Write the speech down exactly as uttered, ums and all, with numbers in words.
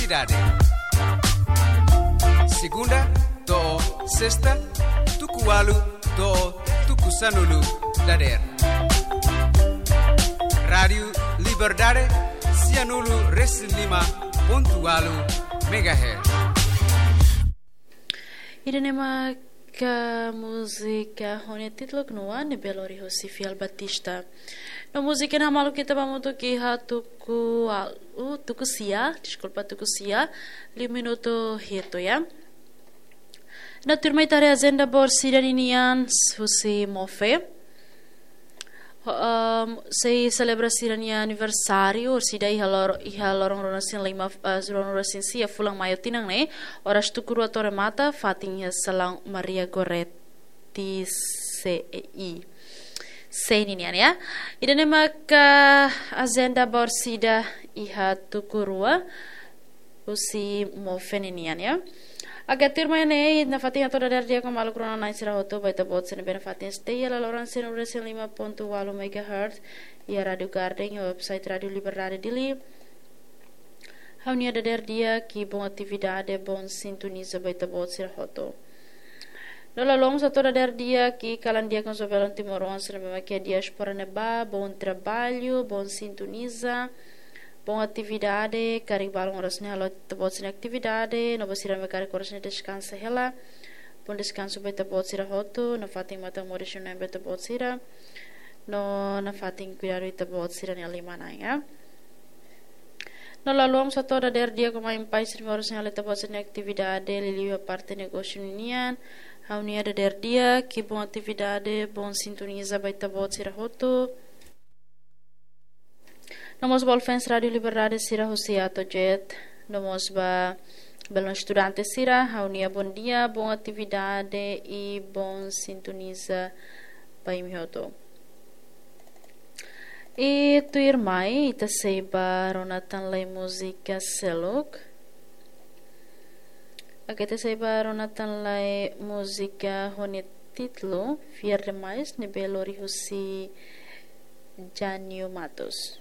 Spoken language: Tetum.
Dade. Segunda to'o sesta, tuku ualu to'o tuku sanulu dadeer. Rádiu Liberdade, sianulu resin lima pontu ualu megahertz. Ida-ne'e mak múzika ho nia títulu Knua ne'ebé lori husi Fiel Batista. No múzika ne'e hamaluk ita ba hamutuk iha tuku ualu, tuku sia, deskulpa, tuku sia, liu minutu hitu ya. No tuirmai ita haree ajenda boot sira ninian husi MOFE. Ho-, em, sei selebra sira-nia aniversáriu, orsida iha lor-, iha loron ruanulu-resin-lima, eh, ruanulu-resin-sia fulan Maiu tinan ne'e, oras tuku rua to'o remata, fatin iha salaun Maria Goretti C E I. Sei ninian ya. Ida-ne'e maka ajenda boot sira iha tuku rua husi MOFE ninian ya. Agora tuirmai ne'e, nafatin hato'o dadeer di'ak ho maluk rona-na'in sira hotu ba ita-boot sira ne'ebé nafatin stay iha laloran sianulu resin lima pontu ualu megahertz, iha Rádiu Garden, iha website Rádiu Liberdade Dili. Ha'u-nia dadeer di'ak, boa atividade, boa sintonizasaun ba ita-boot sira hotu. No lalais hato'o dadeer di'ak, kalan di'ak ho joven timoroan sira ne'ebé mak iha diáspora ne'ebá, bom trabalho, boa sintonizasaun, boa atividade, karik balun oras ne'e halo ita-boot sira-nia atividade, no ba sira ne'ebé karik oras ne'e deskansa hela, bom descanso ba ita-boot sira hotu, nafatin matan moris ho na'in ba ita-boot sira, no nafatin kuidadu ita-boot sira-nia liman-na'in ya. No lalais hato'o dadeer di'ak ho mai pai sira ne'ebé oras ne'e halo ita-boot sira-nia atividade, liuliu iha parte negósiu ninian, ha'u-nia dadeer di'ak, boa atividade, boa sintonizasaun ba ita-boot sira hotu. No mós ba fans Rádiu Liberdade sira husi Atojet, no mós ba belun estudante sira, ha'u-nia bom dia, boa atividade i boa sintonizasaun ba imi hotu. I tuirmai, ita sei ba rona tan lai múzika seluk. Agora ita sei ba rona tan lai múzika ho nia títulu Fiar Demais, ne'ebé lori husi Janio Matos.